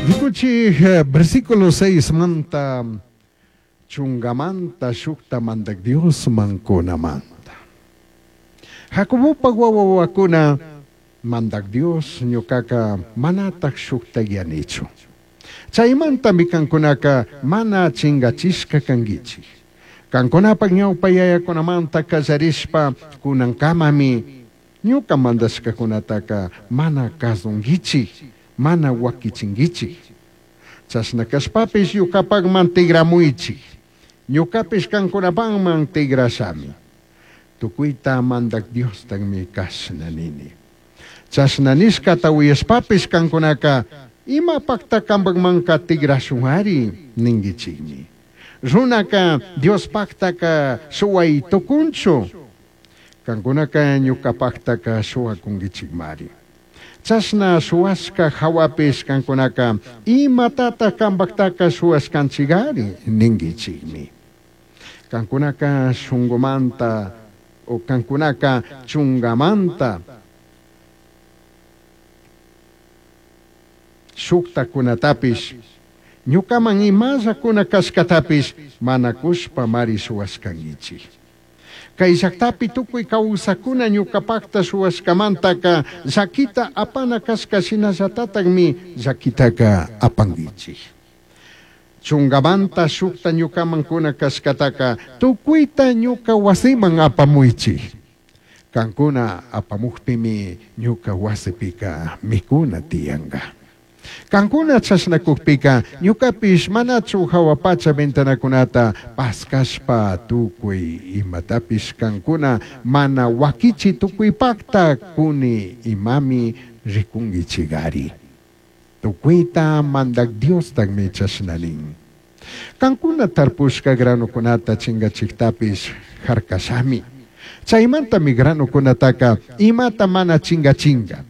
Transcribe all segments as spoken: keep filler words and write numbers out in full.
Rikuchi versículo seis manta chungamanta shukta mandak Dios mankunamanta. Jacobopa wawawakuna mandak Dios ñukaka manatak shukta yanichu. Chaymantami kankunaka mana chingachishka kankichik. Kankunapak ñawpa yayakunamanta kallarishpa kunankamami ñuka mandashkakunataka mana kasunkichik, mana wakichinkichik. Chashna kashpapish ñukapakman tigramuychik. Ñukapish kankunapakman tigrashami. Tukuyta mandak Diostakmi kashna nini. Chashna nishkata uyashpapish kankunaka imapakta kampakmanka tigrashunari ninkichikmi. Runaka Diospactaca shuway tukunchu. Kankunaka ñukapaktaka shuwakunkichikmari. Chashna shuwashka hawapish kankunaka imatata kampaktaka shuwashkanchikari ninkichikmi. Kankunaka shunkumanta o kankunaka chungamanta shuktakunatapish ñukaman imallakuna kashkatapish mana kushpa mari shuwashkankichik. Kay llaktapi tukuy kawsakuna ñukapakta shuwashkamantaka llakita apana kashka shinallatatakmi llakitaka apankichik. Chungamanta shukta ñukaman kuna kashkataka tukuyta ñuka wasiman apamuychik. Kankuna apamukpimi ñuka wasipika mikuna tiyanka. Kankuna chashnakukpika ñukapish manachu hawa pacha ventanakunata paskashpa tukuy imatapish kankuna mana wakichi tukuypakta kuni imami rikunkichikari. Tukuyta mandak Diostakmi chashna nin. Kankuna tarpushka granukunata chingachiktapish harkashami. Chaymantami granukunataka imata mana chingachinga.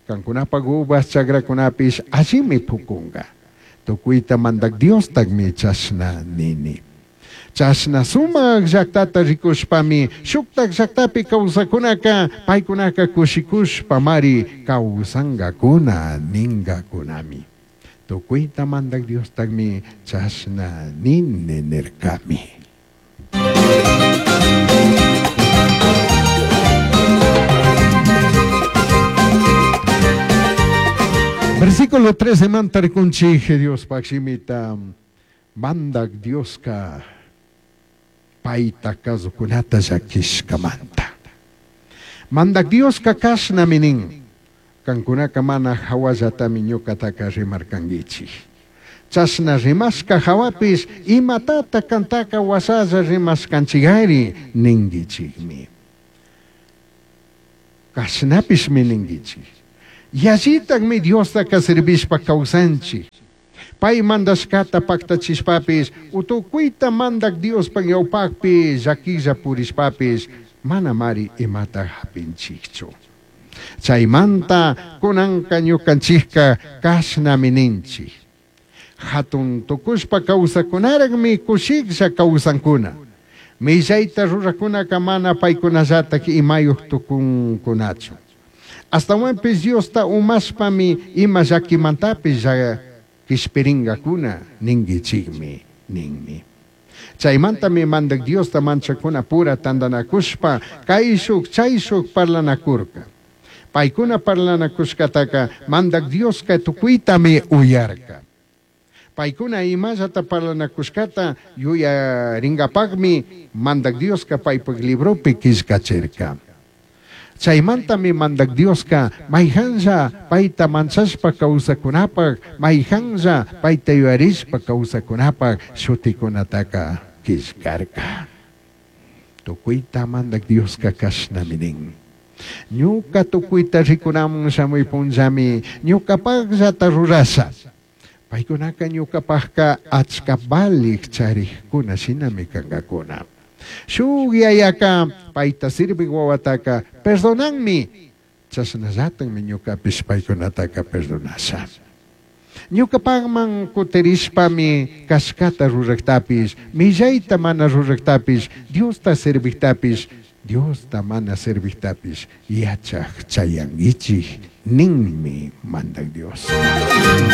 Kankunapak uvas chakrakunapish allimi pukunga. Tukuyta mandak Diostakmi chashna nini. Chashna sumak llaktata rikushpami shuktak llaktapi kawsakunaka paykunaka kushikushpa mari kawsankakuna ninkakunami. Tukuyta mandak Diostakmi chashna nini nirkami. Versículo trece manta rikunchik Dios pakshimita mandak Dioska paita kasukunata llakishkamanta. Mandak Dioska kashnami nin. Kankunaka mana hawallatami ñukataka rimarkankichik. Chashna rimashka hawapish imatata kantaka wasalla rimashkanchikari ninkichikmi. Kashnapishmi ninkichik. Yallitakmi Diostaka servishpa kawsanchik. Pay mandashkata paktachishpapish, utukuyta mandak Diospa ñawpakpi llakilla purishpapish, mana mari imata hapinchikchu. Chaymanta kunanka ñukanchikka kashnami ninchik. Hatun tukushpa kawsakunaraqmi kushiklla kawsankuna. Millayta rurakunaka mana paykunallatak imayuq tukunkunachu. Astawanpish Diosta umashpami ima llakimantapish kishpiringakuna ninkichikmi ninmi. Chaymantami mandak Diosta manchakuna pura tantanakushpa kayshuk chayshuk parlanakurka. Paykuna parlanakushkataka mandak Dioska tukuytami uyarka. Paykuna imallata parlanakushkata yuyarinkapakmi mandak Dioska paypak libropi killkachirka. Chaymantami mandak Dioska mayhanlla payta manchashpa kawsakunapak, mayhanlla payta yuyarishpa kawsakunapak shutikunataka killkarka. Tukuyta mandak Dioska kashnami nin. Ñuka tukuyta rikunamun shamuy punllami ñukapakllata rurasha. Paykunaka ñukapakka achka valik charikkuna shinami kankakuna. Shuk yayaka payta sirvik wawataka perdonanmi. Chashnallatakmi ñukapish paykunataka perdonasha. Ñukapakman kutirishpami kashkata ruraktapish, millayta mana ruraktapish, Diosta serviktapish, Diosta mana serviktapish yachak chayankichik ninmi mandak Dios.